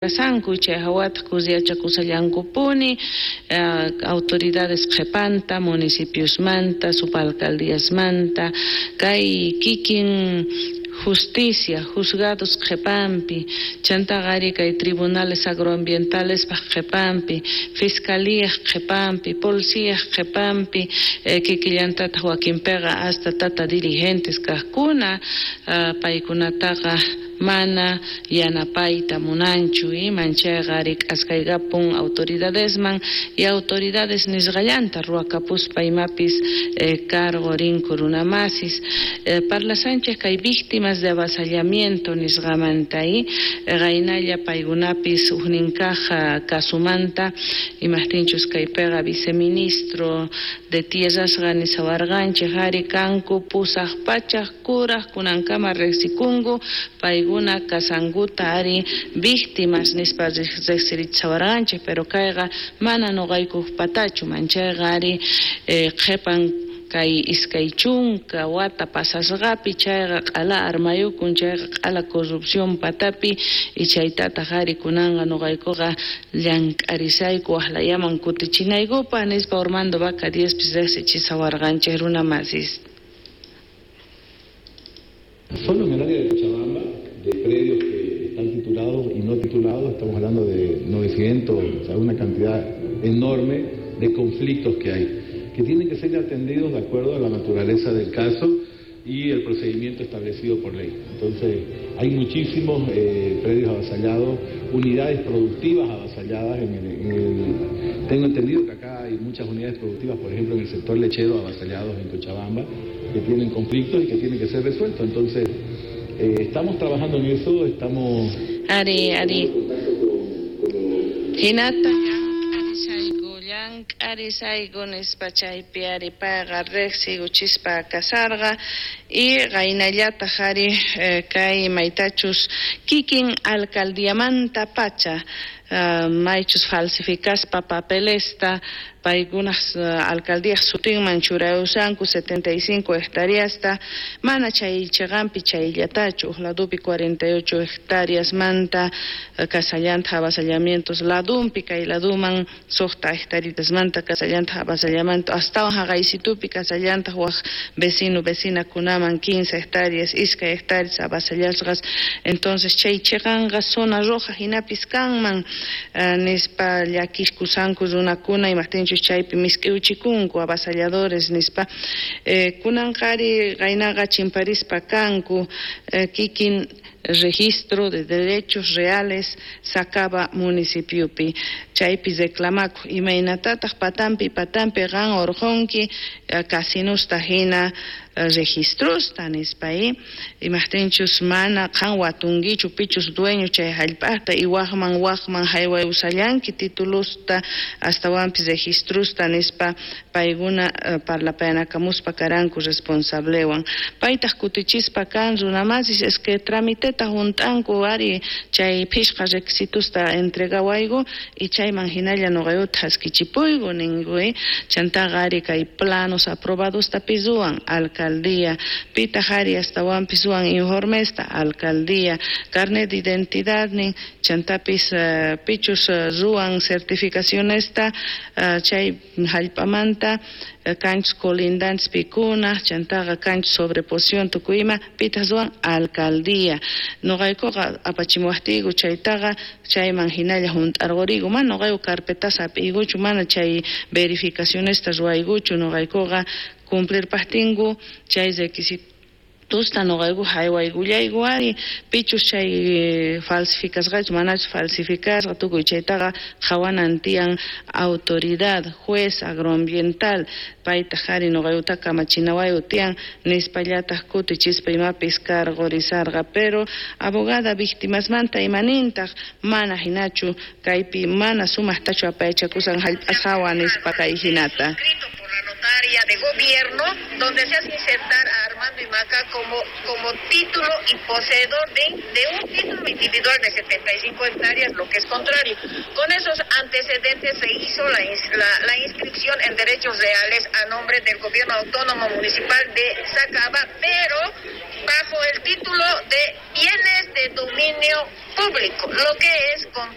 Kasanku chay hawataq kusiyachakusallankupuni autoridades qhipanta municipiosmanta subalcaldiasmanta kay kikin justicia juzgados qhipanpi chantaqa ari kay tribunales agroambientalespaq qhipanpi fiscalíaq qhipanpi policíaq qhipanpi kikillantataq wakinpiqa hasta tata dirigentes kaqkuna paykunataqa mana yanapayta munanchu manchayqa ari k'askaykapun autoridadesman y autoridades nisqallanta ruwakapuspa imapis cargo rinku runamasis. Parlasanchik kay víctimas de avasallamiento nisqamanta qaynalla paykunapis ujnin kaq kasumanta imajtinchus kaypiqa viceministro de tierrasqa nisawarqanchik ari kanku 800 kuraj kunankama riqsikunku paykuna kasankuta ari víctimas nispa riqsirichawarqanchik pero kayqa mana nuqaykupatachu manchayqa ari qhipan kay 20 wata pasasqapi chayqa q'ala armayukun chayqa q'ala corrupción patapi y chaytataq ari kunanqa nuqaykuqa llank'arisayku waqlayaman kutichinaykupaq nispa Armando Vaca Diezpis riqsichisawarqanchik runamasis. Solo en el área de Cochabamba, de predios que están titulados y no titulados, estamos hablando de 900, o sea, una cantidad enorme de conflictos que hay, que tienen que ser atendidos de acuerdo a la naturaleza del caso y el procedimiento establecido por ley. Entonces, hay muchísimos predios avasallados, unidades productivas avasalladas. Tengo entendido que acá hay muchas unidades productivas, por ejemplo, en el sector lechero avasallados en Cochabamba, que tienen conflictos y que tienen que ser resueltos. Entonces, estamos trabajando en eso, estamos... Ari, ari. Hinata. Llank'arisayku nispa chaypi ari payqa riqsiykuchispa kasarqa y qaynallataq ari kay maytachus kikin alcaldiamanta pacha maychus falsificaspa papelesta paykunaq alcaldíaq sutinman churayusanku 75 hectáreasta mana chay chiqanpi chayllatachu uq ladupi 48 hectáreasmanta kasallantaq avasallamientos ladunpi kay laduman 6 hectaritasmanta kasallantaq avasallamiento astawan haqaysitupi kasallantaq waq vecino vecinakunaman 15 hectáreas 2 hectáreas avasallasqas. Entonces chay chiqanqa zona roja hinapis kanman nispa llakiskusanku runakuna imajtinchus chaypi misk'iuchikunku avasalladores nispa kunanqa ari qaynaqa chimparispa kanku kikin registro de derechos reales Sacaba municipiopi chaypi reclamaku imaynatataq patampi patampi qan urqunki casinusta hina registrosta nispa imajtinchus mana qan watunkichu pichus dueño chay hallp'aqta y waqman waqman haywayusallanki titulusta astawanpis registrosta nispa paykuna parlapayanakamuspa karanku responsablewan paytaq kutichispa kan runamasis es que tramiteta junt'anku ari chay phishqa requisitosta entregawayku y chayman hinalla nuqayuta haskichipuyku ninku chantaqa ari kay planos aprobadosta ruwan alcaldía pitaq ari astawanpis ruwan informesta alcaldía carnet de identidad nin chantapis pichus ruwan certificacionesta chay hallp'amanta kanchus colindantes pikuna chantaqa kanchus sobreposición tukuyma pitaq ruwan alcaldía nuqaykuqa apachimuwaqtiyku chaytaqa chayman hinalla hunt'arquriyku mana nuqayku carpetas hap'iykuchu mana chay verificacionesta ruwaykuchu nuqaykuqa cumplirpaqtinku chay requisitosta nuqayku haywaykullayku ari pichus chay falsificasqachu manachu falsificasqa tukuy chaytaqa qhawanan tiyan autoridad juez agroambiental paytaq ari nuqaykuta kamachinawayu tiyan nispallataq kutichispa imapis cargorizarqa pero abogada víctimasmanta imanintaq mana hinachu kaypi mana sumaqtachu apayachakusan hallp'ashawa nispa kay hinata. La notaria de gobierno, donde se hace insertar a Armando Imaca como título y poseedor de un título individual de 75 hectáreas, lo que es contrario. Con esos antecedentes se hizo la inscripción en derechos reales a nombre del gobierno autónomo municipal de Sacaba, pero bajo el título de bienes de dominio público, lo que es contrario.